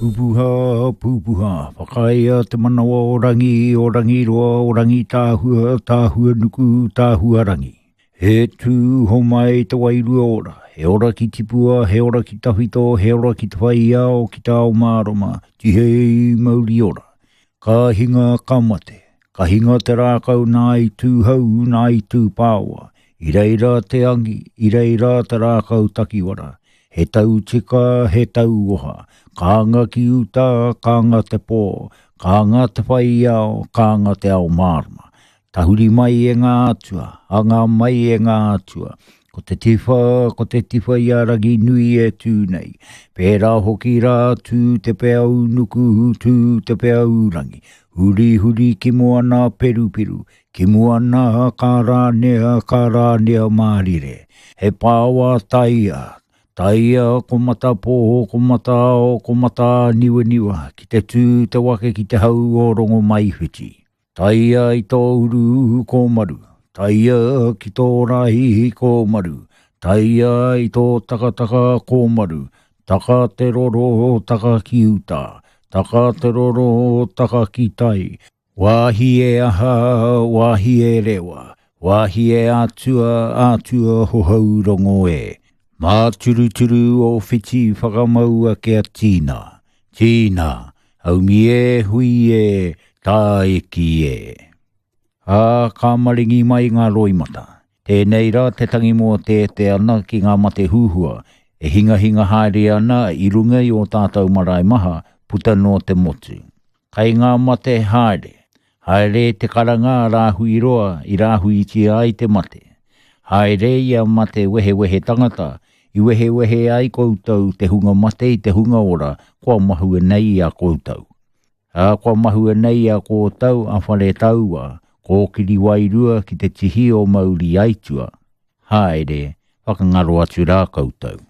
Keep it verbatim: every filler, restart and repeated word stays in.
Pupuha, pupuha, whakaea te manawa o Rangi, o Rangiroa, o Rangitāhua, Tāhua nuku, Tāhua rangi. He tū homai te wairua ora, he ora ki tipua, he ora ki tawhito, he ora ki te whaiao, ki te ao mārama, tihei mauri ora. Ka hinga ka mate, ka hinga te rākau nā i tūhau, nā i tūpāwa, i reira te angi, i reira te rākau takiwara, he tau tika, he tau oha, kānga ki uta, kānga te pō, kānga te whaiao, kānga te ao mārama. Tahuri mai e ngā atua, anga mai e ngā atua. Ko te tiwha, ko te tiwha i a Ranginui e tū nei. Pērā hoki rā tū te pea unuku, tū te pea urangi. Huri huri ki moana peruperu, ki moana ka rānea, ka rānea mārire. He pāwa taia, taia ko matapō, ko mataao, ko matāniwaniwa, ki te tū te wake ki te hau o Rongomaiwhiti. Taia i tō uru kōmaru, taia ki tō rahi kōmaru, taia i tō takataka kōmaru, taka te roro, taka ki uta, taka te roro, taka ki tai, wāhi e aha, wāhi e rewa, wāhi e atua, atua hohau rongo e. Mā turuturu o whiti whakamaua kia tīna, tīna, haumi e hui e, tāiki e. Ā, ka maringi mai ngā roimata. Tēnei rā te tangi mō te te ana ki ngā mate huhua, e hingahinga haere ana i runga i o tātou marae maha, puta no te motu. Kai ngā mate haere, haere te karanga a rāhui roa i rāhuitia ai te mate. Haere ia mate wehewehe tangata, i wehewehe ai koutou te hunga mate i te hunga ora, kua mahue nei i a koutou. Ā, kua mahue nei a koutou a whare taua, kōkiri wairua ki te tihi o mauri aitua. Haere, whakangaro atu rā koutou.